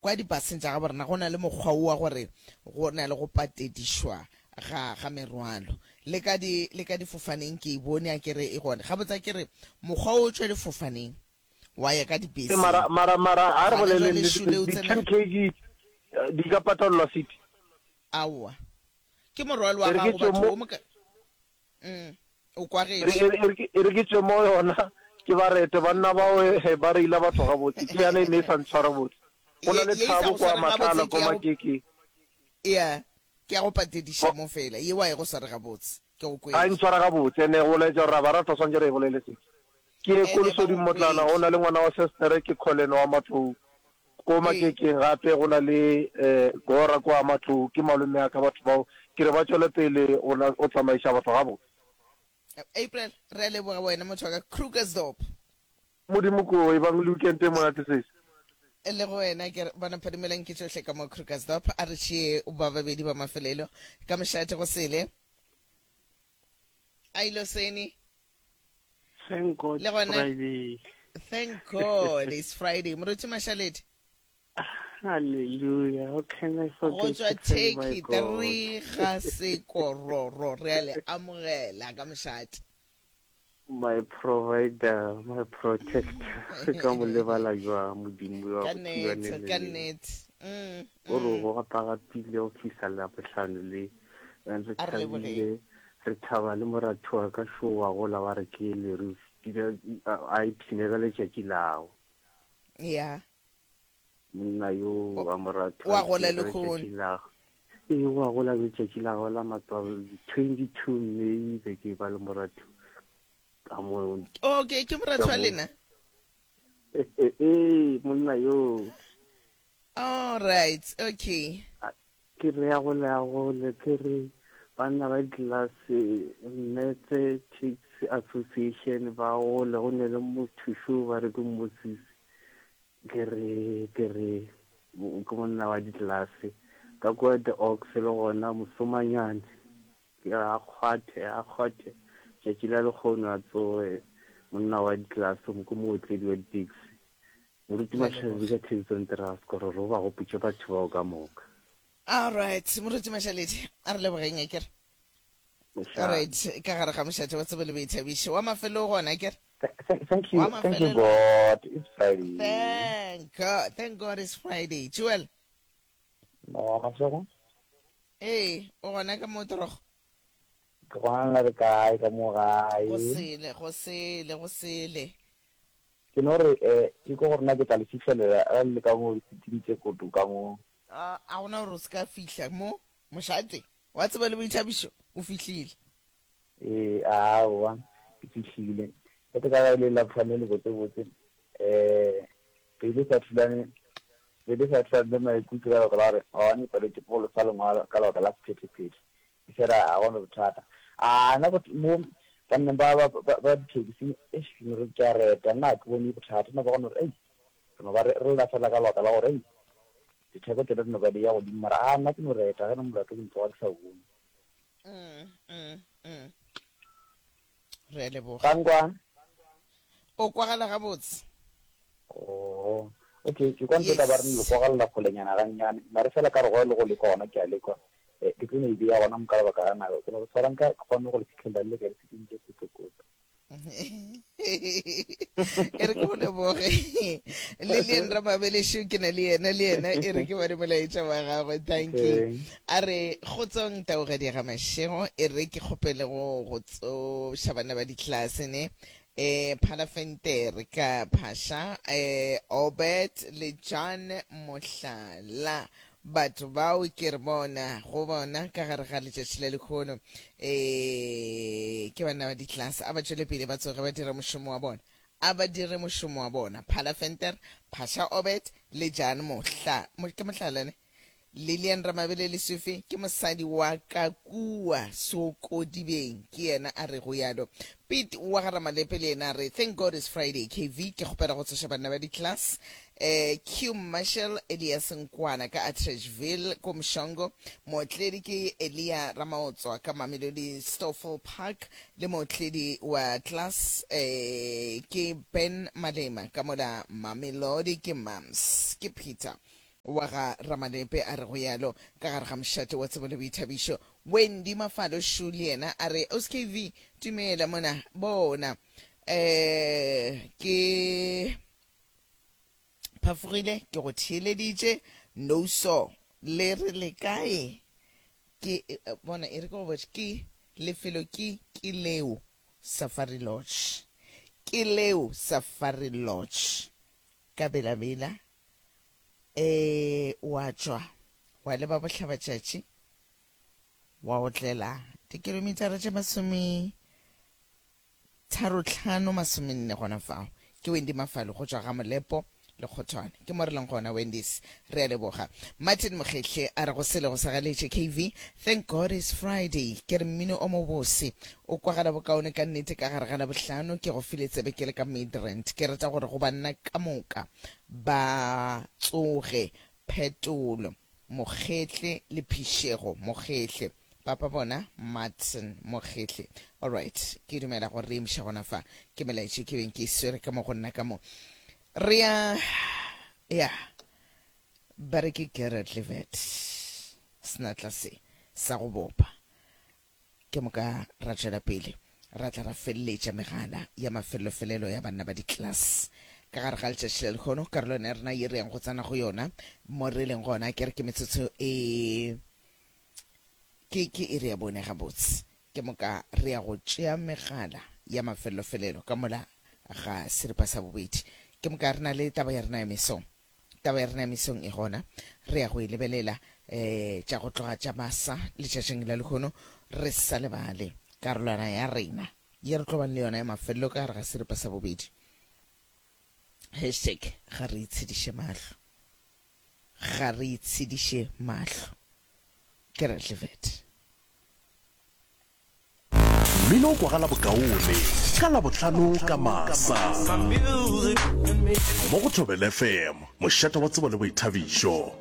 Kwa dipaseng tša gabo rena go na le mokgwa wo wa gore go na le go patedišwa ga, ga merwalo. Le ka di, le ka difofaneng ke e bone, a ke re e gona. Gabotse a ke re mokgwa wo o tšwa difofaneng wa ya ka Ee, dibeseng. mara, mara, mara a re Gona boleleng jwale nnete, šole o di tsena. 10 kg di ka patalelwa city. Aowa. Ke morwalo wa E re ke gago tšwe batho mo, wo moka. Mm, o e re, kwagetše. e re, e re ke e re ke tšwe mo yona, ke ba rete banna bao he ba reila batho gabotse. Ke yana e ne e sa ntshware botse. Go na Ye, le ye e sa Thabo go kwa swareng gabotse Matlala ke ko ya go, Makekeng. ya, ke ya go patediša Ba, mo fela. Ye wa e go sware gabotse. Ke go ga e kwele. ntshwara gabotse, ene go laetša gore ra ba rata swantše re e bolele se. Ke ye ko Ene ba Lesoding go Motlana, go kwele. na le ngwana wa sestere ke Colin wa Matlou. Ko Ee. Makekeng gape go na le Gora kwa Matlou, ke malome a ka batho bao. Ke re ba tšwele pele go na go tsamaiša batho gabotse. April, re a leboga wena motho wa ka Krugersdorp. Modimo ko, ebang le weekend e monate sesi. Le go wena ke re bona phadimelang ke tšohle ka mo Krugersdorp. A re tšee ba babedi ba mafelelo ka mošate go sele. A ilo seni. Thank God Le gona Friday. Thank God it's Friday. Moruti Mashaledi. Hallelujah. How can I Go forget tšwa to thank my Turkey God? 3 ga sekororo re a le amogela ka mošate. My provider, my protector. Re ka mo lebala jwang Modimo wa Ka go thiba nnete, neng le ka neng. nnete. Mm, O re mm. go gapagapile go fihla Labohlano le. And re A re lebogeng. thabile, re thaba le moratho wa ka šo wa gola wa re ke le re a ipshine ka letšatši lago. Ya. Monna yo O wa moratho a wa gola ipshine ka lehono. letšatši lago. Ee, wa gola letšatši la gagwe la matswalo, 22 May be ke ba le moratho ka mo. Okay, ke moratho Ka wa mo. lena? Ee, monna yo. All right, okay. Ke re ya gole ya gole, ke re banna ba ditlelase Mmetse Taxi Association ba gole, go ne le motho šo ba re ke Moses, ke re ke re ke monna wa ditlelase ka kua The Ox le gona Mosomanyane, ke re a kgwathe a kgwathe tšatši la lekgono a tsoge monna wa ditlelase ke mootledi wa di-taxi. Moruti Re a Mashaledi leboga. ka Thabisong Terasco re re o ba gopotše batho bao ka moka. All right, Moruti Mashaledi, a re lebogeng akere. All Mošate. right, ka gare ga mošate wa tsebo le boithabišo wa mafelelo gona akere. Thank, thank Wa you, thank you mafelelo. God. It's Friday. Thank God, thank God it's Friday. Joel. No, Masego. Ee, o gona ka mo torogo. Ke gona le kae ka mo gae? Go sele, go sele, go sele. Ke no re, eh, ke kwa gore na ke tla le fihlelela ge le le ka mo diseting tše koto ka mo. A, a gona gore o se ka fihla mo, mošate wa tsebo le boithabišo o fihlile. Ee, aowa, ke fihlile. Ge ke ka ba e le Labohlano le botsebotse, eh, pelo e sa thulane, pelo e sa thulane le maikutlo ka lebaka la gore maabane ke paletšwe ke go lefa lengwalo ka lebaka la sephethephethe. Efela ga go na bothata. A nna go mo banneng ba ba ba ba dithekisi, eish, ke no re ke a reta, nna ga ke bone bothata. No ba go no re, ei, re no ba re re lla fela ka lebaka la gore, ei, ditheko tšona di no ba di ya godimo, mara a nna ke no reta, ge e le molato ke no tloga ke sa o bone. Mm, mm, mm. Re a leboga. Ba nkwa? O kwagala gabotse. Oh, okay, ke kwa ntse ka ba re le Yes. kwagalela kgolenyana gannyane, mare fela ka re go le go lekwa gona ke a lekwa. Eh, ke tlo no e beya gona mo ka lebaka la nako. Ke no re tshwarang ka ke kgone go le fihlelela le ka diseting tše kotokoto. E re ke go leboge. Lilian Ramabelešo ke na le yena le yena e re ke bone molaetša wa gagwe. Thank you. Okay. A re kgotsong taugadi ga Mashego e re ke kgopele go go tsoša bana ba ditlelase ne eh Phalafentere ka Phasha eh Obert le John Mohlala batho bao ke re bona go bona ka gare ga letšatši la lekgono eh ke bana ba ditlelase a ba tšwele pele ba tsoge ba dira mošomo wa bona a ba dire mošomo wa bona Phalafentere Phasha Obert le John Mohla ke Mohlala ne Lilian Ramabele Lesufi ke mosadi wa ka kua Sokodibeng, ke yena a rego yalo. Piet wa ga Ramalepe le yena a re, Thank God it's Friday, KV, ke kgopela go tsoša banna ba di-class. Eh, Q Marshall Elias Nkwana ka Atteridgeville ko Mshongo. Mootledi ke Elia Ramaotswa ka Mamelodi Stoffel Park le mootledi wa class eh, ke Ben Malema ka mola Mamelodi ke Mams ke Peter. wa ga Ramalepe a re go yalo ka gare ga mošate wa tsebo le boithabišo. Wendy Mafalo Shu le yena a re OSKV dumela mona bona eh ke phafogile ke go theeleditše no so le re le kae ke eh, bona e re ke go botše ke lefelo ke ke leo Safari Lodge ke leo Safari Lodge ka Bela-Bela E, wa tšwa wa leba bohlabatšatši, wa otlela dikilomitara tše masome tharotlhano masomenne gona fao. Ke Wendy Mafalo go tšwa ga Molepo le Kgothwane. Ke mo re leng gona Wendy's. Re a leboga. Martin Mokgehle a re go sele go sa galetše KV. Thank God it's Friday. Ke re mmino o mobose o kwagala bokaone ka nnete ka gare ga Labohlano. Ke go file tsebe ke le ka Midrand. Ke rata gore go banna ka moka ba tsoge, Phetolo, Mokgehle le Phišego, Mokgehle, Papa bona, Martin, Mokgehle. Alright, ke dumela gore re emiša gona fa. Ke melaetša ke beng ke e swere ka mo go nna ka mo. Re ya, ya, ba re ke Gerrit Levet, senatla se sa go bopa. Ke moka ra tšwela pele ra tla ra feleletša megala ya mafellofelelo ya banna ba diklase ka gare ga letšatši la lehono. Karolwana ya rena ye re yang go tsena go yona mo re leng gona ke re ke metsotso e ke ke iri ya bone gabotse. Ke moka re ya go tšea megala ya mafellofelelo ka mola ga seripa sa bobedi. Ke moka re na le taba ya rena ya mesong. Taba ya rena ya mesong e gona, re ya go e lebelela um tša go tloga tša masa letšatšing la lehono, re sa lebale karolwana ya rena ye re tlo bang le yona ya mafelelo ka gare ga seripa sa bobedi. Hashtag ga re itshediše mahlo, ga re itshediše mahlo. Ke Radlivet. Mmino o kwagala bokaone ka Labohlano ka masa mo go Thobela FM, mošate wa tsebo le boithabišo.